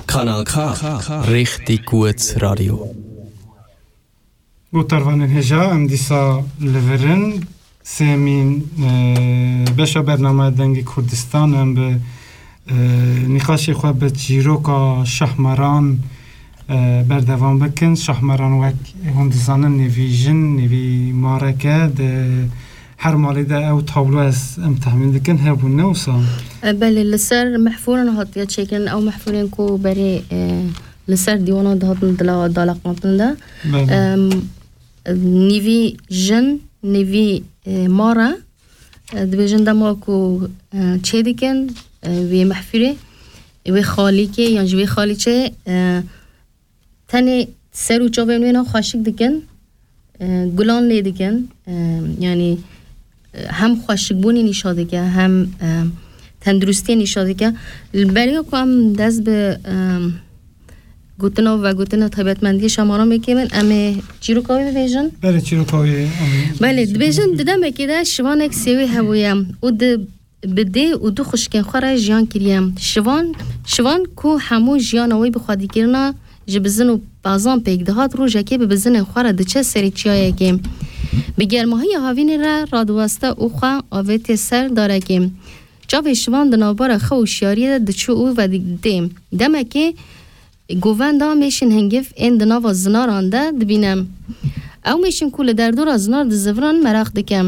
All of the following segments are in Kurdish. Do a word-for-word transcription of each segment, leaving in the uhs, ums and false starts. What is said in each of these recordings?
Kanal K. Richtig gut Radio. Gotarvanên hêja, em dîsa li vir in. Sêmîn, e, beşa bername Dengê Kurdistan, em bi, e, nîqaşê xwe bi çîroka Şahmeran, e, berdewam bikin. Şahmeran, wek hûn dizanin, nêvî jin, nêvî mareke di her malê de ew tablo, ez, em texmîn dikin, hebûn, ne wisa? E, belê, li ser mehfûran hatiye çêkirin. Ew mehfûrên ku berê, e, li ser dîwanan dihatin dila-, dalaqandin de. Belê. Em, nîvî jin, nîvî, e, mare, e, dibêjin dema ku, e, çê dikin, e, wê mehfûrê, wê xalîkê yan ji wê xalîçeyê, e, tenê ser û çavên wê ne xweşik dikin, e, gulan lê dikin, e, yanî, e, hem xweşikbûnê nîşa dike, hem, e, tenduristiyê nîşa dike. Li beriya ku em dest bi, e, gotina û vegotina taybetmendiyê Şahmeran bikevin, em ê çîroka wê bibêjin. Belê, çîroka wê, em Belê, dibêjin di demekê de şivanek sêwî hebûye û di, bi dê û du xwişkên xwe re jiyan kiriye. Şivan, şivan ku hemû jiyana wê bi xwedîkirina ji bizin û bazan pêk dihat, rojekê bi bizinên xwe re diçe serê çiyayekê. Bi germahiya havînê re radiweste û xwe avêtiye ser darekê. Çavê şivan di navbera xew û şiyariyê de diçû û vedidê. Demekê govenda mêşên hingiv ên di nava zinaran de dibîne. Ew mêşên ku li derdora zinar diziviran meraq dike.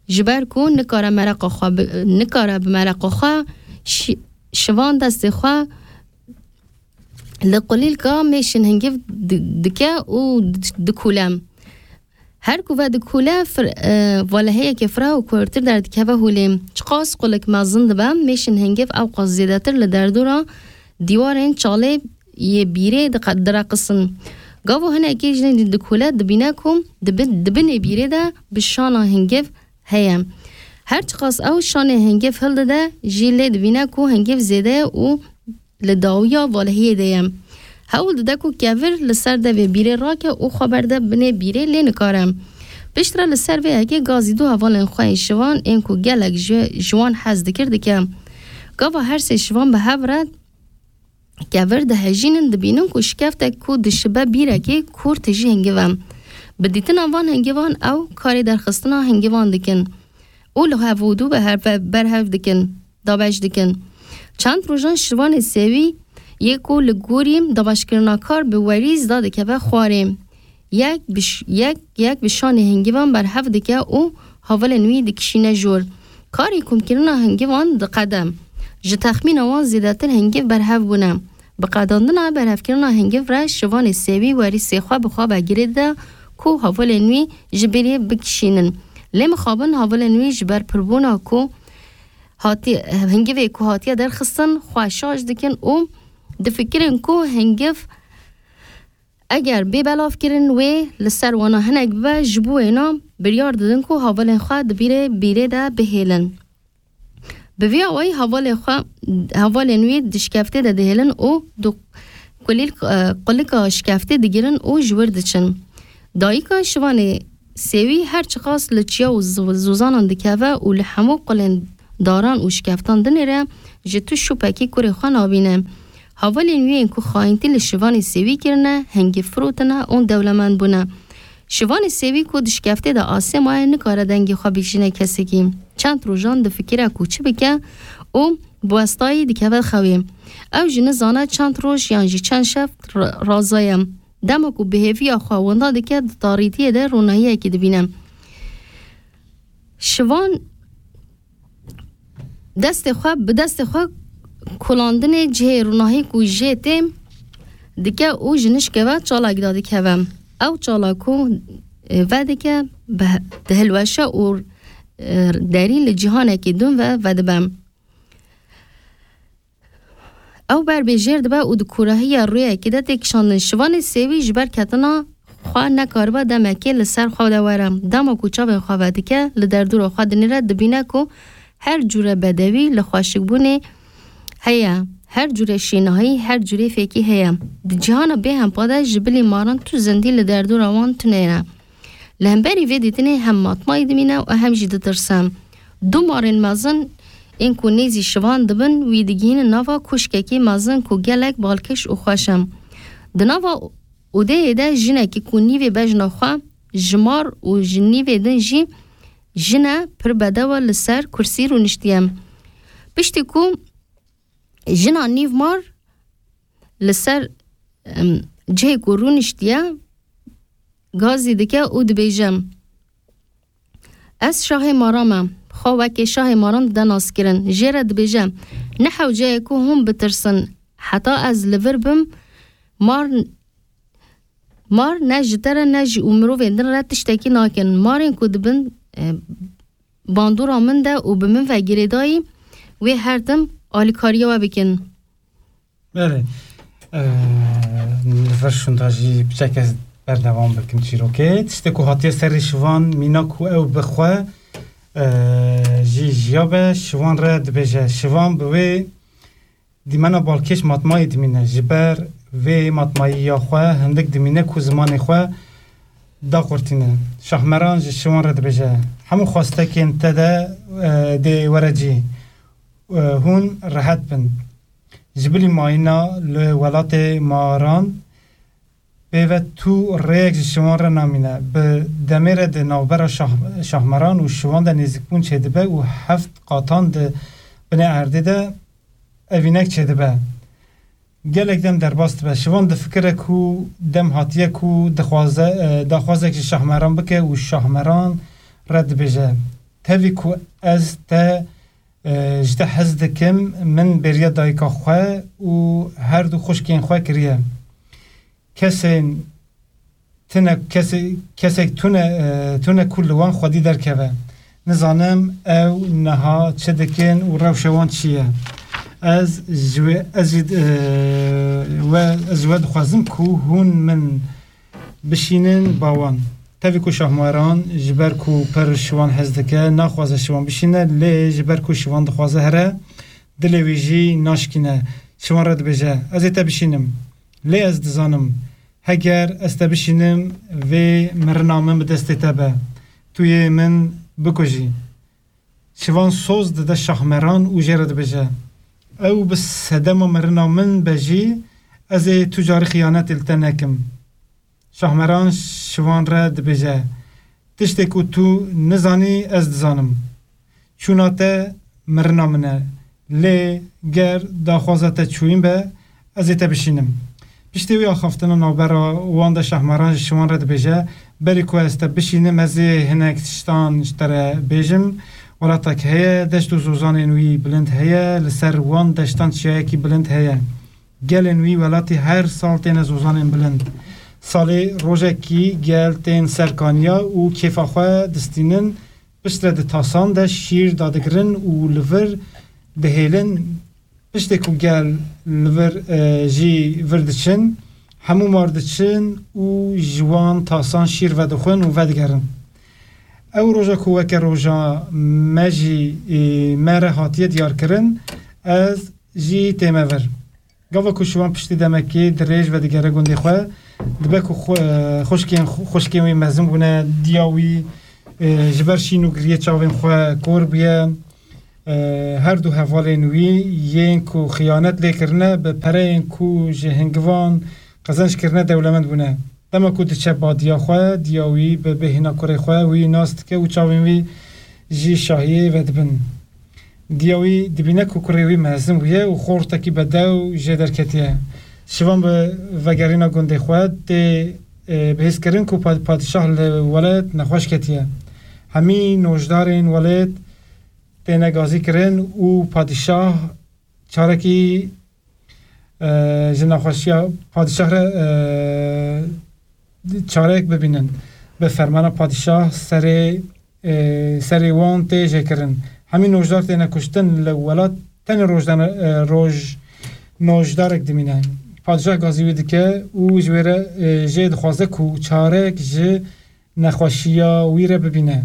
Ji ber ku nikare mereqa xwe bi, nikare bi mereqa xwe şi-, şivan destê xwe li qulîlka mêşên hingiv di-, dike û di-, dikûle. Her ku vedikûle fir-, e, valeheyeke fireh û kurtir derdikeve holê. Çiqas qulik mezin dibe, mêşên hingiv ewqas zêdetir li derdora dîwarên çalê yê bîrê diqe-, direqisin. Gavo hinekî jin dikûle dibîne ku di bin-, di binê bîrê de bi şana hingiv heye. Her çiqas ew şanê hingiv hildide jî lê dibîne ku hingiv zêde ye û li dawiya valehiyê de ye. Hewl dide ku kevir li ser devê bîrê rake û xwe berde binê bîrê, lê nikare. Piştre li ser vê yekê gazî du hevalên xwe yên şivan ên ku gelek ji, ji wan hez dikir dike. Gava her sê şivan bi hev re kevir dihejînin, dibînin ku şikeftek ku dişibe bîrekê kûr tijî hingiv e. Bi dîtina van hingivan ew karê derxistina hingivan dikin û li hev û dû bi hev, berhev dikin, dabeş dikin. Çend rojan şivanê sêwî yê ku li gorî dabeşkirina kar bi werî zida dikeve xwarê. Yek bi ş-, yek, yek bi şanê hingivan berhev dike û havalên wî dikişîne jor. Karê komkirina hingivan diqede. Ji texmîna wan zêdetir hingiv berhev bûne. Bi qedandina berhevkirina hingiv re şivanê sêwî werîsê xwe bi xwe ve girê dide ku havalên wî ji bîrê bikişînin. Lê mixabin havalên wî ji ber pirbûna ku hatî-, hingivê ku hatiye derxistin xwe şaş dikin û difikirin ku hingiv eger bê belavkirin wê li ser wana hinek bibe, ji bo wêna biryar didin ku havalên xwe di bîrê, bîrê de bihêlin. Bi vî awayî havalê xwe, havalên wî di şikeftê de dihêlin û di kulîl-, e, qulika şikeftê digirin û ji wir diçin. Dayika şivanê sêwî her çiqas li çiya û ziv-, zozanan dikeve û li hemû qulên daran û şikeftan dinêre, ji tu şûpekî kurê xwe nabîne. Havalên wî yên ku xayîntî li şivanê sêwî kirine, hingî firotine û dewlemend bûne. Şivanê sêwî ku di şikeftê de asê maye, nikare dengê xwe bikişîne kesekî. Çend rojan difikire ku çi bike û bi westayî dikeve xewê. Ew jî nizane çend roj yan jî çend şev ra-, razaye. Dema ku bi hêviya xwe winda dike, di tarîtiyê de ronahiyekî dibîne. Şivan destê xwe, bi destê xwe kulandinê cihê ronahî ku jê tê dike û ji nişkê ve çalakî dadikeve. Ew çalak ku, e, vedike, bi-, dihilweşe û, e, derî li cîhanekî din ve vedibe. Ew ber bêjêr dibe û di kûrahiya rûyekê de tê kişandin. Şivanê sêwî ji ber ketina xwe nekaribe demekê li ser xwe de were. Dema ku çavên xwe vedike, li derdora xwe dinêre, dibîne ku her cûre bedewî li xweşikbûnê heye, her cûre şênahî, her cûrê fêkî heye. Di cîhana bêhempa de ji bilî maran tu zindî li derdora wan tune ye. Li hemberî vê dîtinê hem matmayî dimîne û hem jî ditirse. Du marên mezin ên ku nêzî şivan dibin, wî digihînin nava koşkekî mezin ku gelek balkêş û xweş e. Di nava odeyê de jinekî ku nîvê bejna xwe ji mar û ji nîvê din jî jin e, pir bedew e, li ser kursî rûniştiye. Piştî ku jina nîvmar li ser, em, cihê ku rûniştiye, gazî dike û dibêje, Ez şahê mara me. Xwe wekê şahê maran dide naskirin. Jê re dibêje, Ne hewce ye ku hûn bitirsin. Heta ez li vir bim, mar, mar ne ji te re ne ji û mirovên din re tiştekî nakin. Marên ku dibin, e, bandora min de û bi min ve girêdayî, wê her tim alîkariya we bikin. Belê. Eee, li vir şûnda jî piçek ez berdewam bikim çîrokê. Tiştê ku hatiye serê şivan mîna ku ew bi xwe, eee, jî jiya be, şivan re dibêje. Şivan bi wê dîmena balkêş matmayî dimîne. Ji ber vê matmayiya xwe hindik dimîne ku zimanê xwe daqurtîne. Şahmeran ji şivan re dibêje, Hemû xwestekên te de, eee, dê were cî. Eee, hûn rehet bin. Ji bilî mayîna li welatê maran pê ve tu rêyek ji şivan re namîne. Bi demê re di navbera şah-, şahmeran û şivan de nêzîkbûn çêdibe û heft qatan di binê erdê de evînek çêdibe. Gelek dem derbas dibe. Şivan difikire ku dem hatiye ku dixwaze, e, daxwazek ji şahmeran bike û şahmeran re dibêje, Tevî ku ez te e, ji te hez dikim, min bêriya dayika xwe û her du xwişkên xwe kiriye. Kesên tune, kesê-, kesek tune, e, tune ku li wan xwedî derkeve. Nizanim ew niha çi dikin û rewşa wan çi ye. Ez ji wê, ez jî, e, we, ez ji we dixwazim ku hûn min bişînin ba wan. Tevî ku şahmeran ji ber ku pir şivan hez dike, naxwaze şivan bişîne, lê ji ber ku şivan dixwaze here, dilê wî jî naşkîne. Şivan re dibêje, Ez ê te bişînim. Lê ez dizanim, heger ez te bişînim, vê mirina min bi destê te be. Tu yê min bikujî. Şivan soz dide şahmeran û jê re dibêje, Ew bi sedema mirina min be jî, ez ê tu carî xiyanetê li te nekim. Şahmeran şivan re dibêje, Tiştê ku tu nizanî ez dizanim. Çûna te mirina min e. Lê ger daxwaza te çûyîn be, ez ê te bişînim. Piştî wî axaftina navbera wan de şahmeran ji şivan re dibêje, Berî ku ez te bişînim, ez ê hinek tiştan ji te re bêjim. Welatek heye, deşt û zozanên wî bilind heye, li ser wan deştan çiyayekî bilind heye. Gelên wî welatî her sal têne zozanên bilind. Salê rojekî gel tên ser kaniya û kêfa xwe distînin, piştre di tasan de şîr dadigirin û li vir dihêlin. Piştê ku gel li vir, e, jî vir diçin, hemû mar diçin û ji wan tasan şîr vedixwin û vedigerin. Ew roja ku weke roja me jî, e, me re hatiye diyarkirin, ez jî tême vir. Gava ku şivan piştî demekê dirêj vedigere gundê xwe, dibe ku xwe-, xwişkên, xwişkên wî mezin bûne, diya wî, e, ji ber şîn û giriyê çavên xwe kor bûye. E, her du hevalên wî yên ku xiyanet lê kirine, bi pereyên ku ji hingivan qezenc kirine, dewlemend bûne. Dema ku diçe ba diya xwe, diya wî bi bêhna kurê xwe wî nas dike û çavên wî jî şahiyê vedibin. Diya wî dibîne ku kurê wî mezin bûye û xortekî bedew jê derketiye. Şivan bi vegerîna gundê xwe tê, e, bihîzkirin ku pa-, padîşah li welêt nexweş ketiye. Hemî nojdarên welêt têne gazî kirin û padîşah çarekî, e, ji nexweşiya padîşah re, e, çareyek bibînin. Bi fermana padîşah serê, e, serê wan tê jêkirin. Hemî nojdar têne kuştin, li welat tenê rojdan-, e, roj-, nojdarek dimîne. Padîşah gazî wî dike û ji wê re, e, jê dixwaze ku çareyek ji nexweşiya wî re bibîne.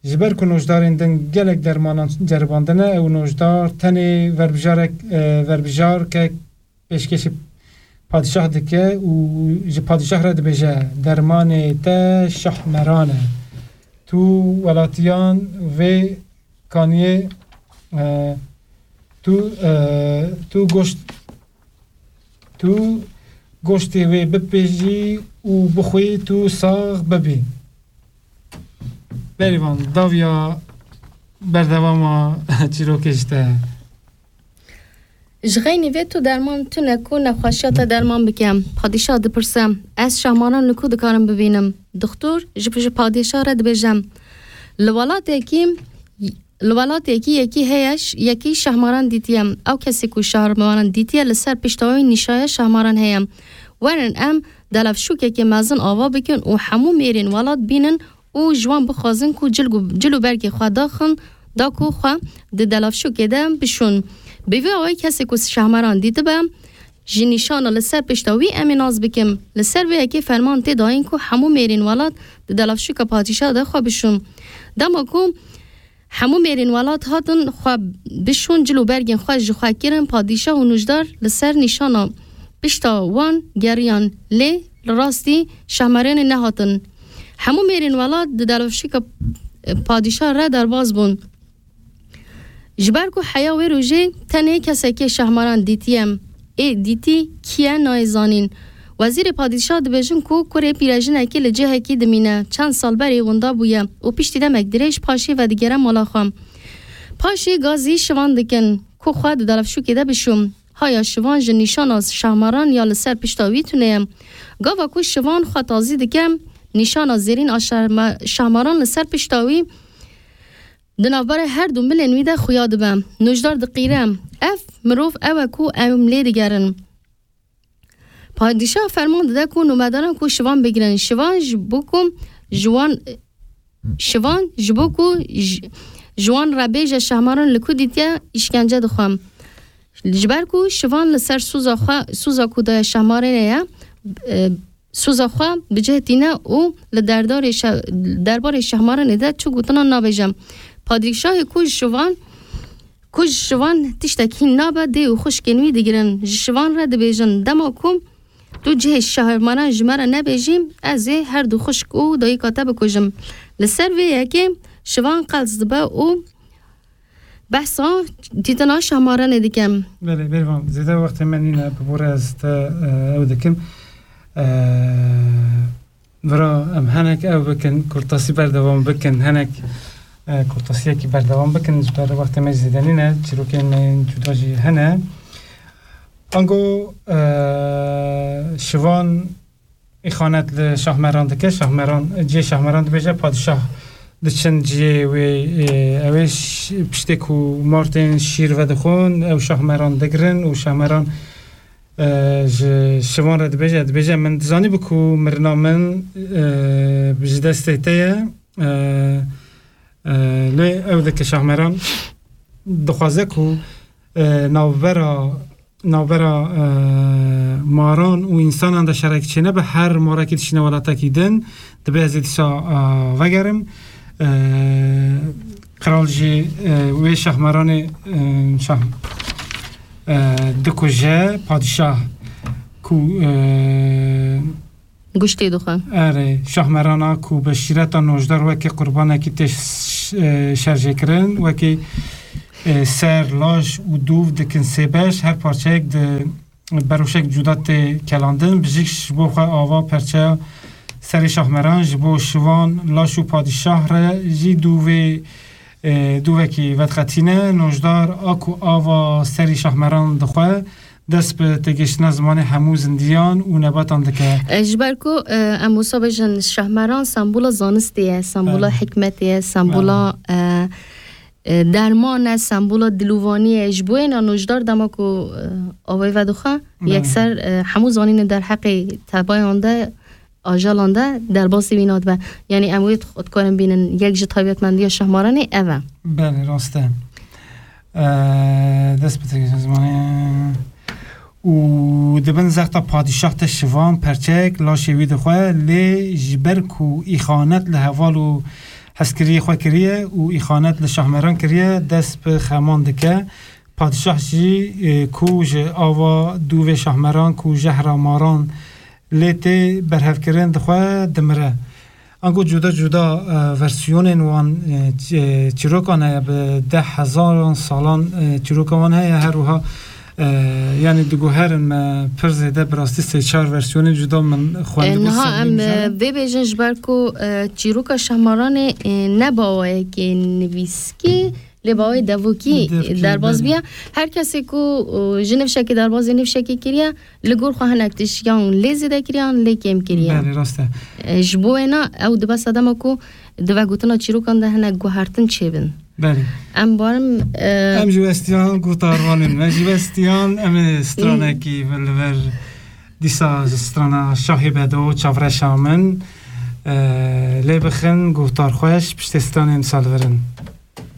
Ji ber ku nojdarên din gelek dermanan ceribandine, ew nojdar tenê verbijarek, e, verbijarkek pêşkêşî padîşah dike û ji padîşah re dibêje, Dermanê te şahmeran e. Tu welatiyan vê kaniyê E, tu, e, tu goşt, tu goştê wê bipêjî û bixwî tu sax bibî. Berîvan, dawiya berdewama çîrokê ji te. Ji xeynî vê tu derman tune ku nexweşiya te derman bike. Padîşah dipirse, ez Şahmaran li ku dikarim bibînim? Dixtur ji, ji padîşah re dibêje, li welatekî, li welatekî yekî heye, ş-, yekî Şahmaran dîtiye. Ew kesê ku Şahmaran dîtiye, li ser pişta wî nîşaya Şahmaran heye. Werin em delafşûkekê mezin ava bikin û hemû mêrên welat bînin û ji wan bixwazin ku cil û, cil û bergê xwe daxin, da ku xwe di delafşûkê de bişûn. Bi vî awayî kesê ku Şahmaran dîtibe, ji nîşana li ser pişta wî em ê nas bikim. Li ser vê yekê ferman tê dayîn ku hemû mêrên welat di delafşûka padîşah de xwe bişûn. Dema ku hemû mêrên welat hatin xwe bişûn, cil û bergên xwe ji xwe kirin, padîşah û nûjdar li ser nîşana pişta wan geriyan, lê li rastî Şahmaranê nehatin. Hemû mêrên welat di delafşûka, e, padîşah re derbas bûn. Ji ber ku heya wê rojê tenê kesekê Şahmaran dîtiye. Ê dîtî kî ye nayê zanîn. Wezîrê padîşah dibêjin ku kurê pîrejinekê li cihekî dimîne. Çend sal berê winda bûye û piştî demek dirêj paşê vedigere mala xwe. Paşê gazî Şivan dikin ku xwe di delafşûkê de bişûm. Haya Şivan ji nîşana Şahmaran ya li ser pişta wî tune ye. Gava ku Şivan xwe tazî dike, nîşana zêrîn a Şahma-, Şahmaran li ser pişta wî di navbera her du milên wî de xuya dibe. Nûjdar diqîre. Ev mirov ew e ku em lê digerin. Padîşah ferman dide ku nûmedaran ku Şivan bigirin. Şivan ji bo ku ji wan, Şivan ji bo ku ji, ji wan re bêje Şahmaran li ku dîtiye îşkence dixwe. Ji ber ku Şivan li ser soza xwe, soza ku daye Şahmaranê ye, e, soza xwe bi cih tîne û li derdarê şe-, derbarê Şahmaranê de çi gotinan nabêje. Padîşahê ku ji Şivan, ku ji Şivan tiştek hîn nabe, dê û xwişkên wî digirin. Ji Şivan re dibêjin, dema ku tu cihê Şahmaran ji me re nebêjî, ez ê her du xwişk û dayika te bikujim. Li ser vê yekê Şivan qels dibe û behsa dîtina Şahmaranê dikim. Belê, Bêrvan, zêde wextê me nîne, bi bo re ez te, e, ew dikim. E, vira em henek ew bikin, kurtasî berdewam bikin, henek, e, kurtasiyekî berdewam bikin, ji ber wextê me zêde nîne, çîrokên me yên cuda jî hene. Ango, e, Şivan îxanet li Şahmeran dike. Şahmeran, cihê Şahmeran dibêje, padîşah diçin cihê wê, e, ew ê ş-, piştê ku martên şîr vedixwin, ew Şahmeran digirin û Şahmeran, e, ji Şivan re dibêje, dibêje, min dizanî bi ku mirina min, e, ji destê te ye. E, e, lê ew dike Şahmeran dixwaze ku, e, navbera navbera, e, maran û însanan de şerekî çênebe, her marekî dişîne welatekî din, dibe ez ê dîsa, e, vegerim. E, qral jî, e, wê Şahmeranê, e, şah, e, dikuje, padîşah ku, e, Guştê dixwe. Erê, Şahmerana ku bi şîreta nojdar wekî qurbanekî tê ş-, e, şerjêkirin, wekî, e, ser, laş û dûv dikin sê beş, her parçeyek di beroşek cuda tê kelandin. Bijik ji bo xwe ava perçeya serê Şahmeran, ji bo Şivan, laş û padîşah re jî dûvê, e, dûvekî vedqetîne. Nojdar a ku ava serî Şahmeran dixwe, dest bi têgihiştina zimanê hemû zindiyan û nebatan dike. E, ji ber ku, e, em wisa bêjin, Şahmeran sembola zanistê ye, sembola Belê. hikmetê ye, sembola, Belê. e, e, derman e, sembola dilovaniyê ye. Ji bo yê nojdar dema ku, e, avê vedixwe, Belê. yekser, e, hemû zanînê derheqê tebayan de, ajalan de derbasî wî nadibe. Yanî em wê dix-, dikarin bînin, yek ji taybetmendiya Şahmaranê ev e. Belê, rast e. E, dest bi têgihiştina zimanê û di bin zexta padîşah de Şivan perçek laşê wî dixwe, lê ji ber ku îxanet li heval û hezkiriyê xwe kiriye û îxanet li Şahmeran kiriye, dest bi xeman dike. Padîşah jî, e, ku ji ava dûvê Şahmeran ku jehra maran lê tê berhevkirin dixwe, dimire. Ango cuda cuda e, versiyonên wan e, çî- e, çîrokan heye, bi deh hezaran salan e, çîroka wan heye, her wiha e, yanî diguherin me pir zêde bi rastî sê çar versiyonên cuda min xwendibû. E, niha em e, vê bêjin ji ber ku e, çîroka Şahmaranê e, ne bawayekê nivîskî, lê bawayê devokî derbaz biya. Her kesê ku e, ji nifşekê derbazê nifşekê kiriye, li gor xwe hinek tişt yan lê zêde kiriye yan lê kêm kiriye. Belê, rast e. E, ji bo wêna ew dibe sedema ku di vegotina çîrokan de hinek guhertin çêbin. Belê. Em barim e, em ji westiyan guhdarvan in. Me ji westiyan em ê stranekî li ver dîsa strana Şahê Bedo çavreşa min e, lê bixin guhdar xweş piştê stranên salvirin.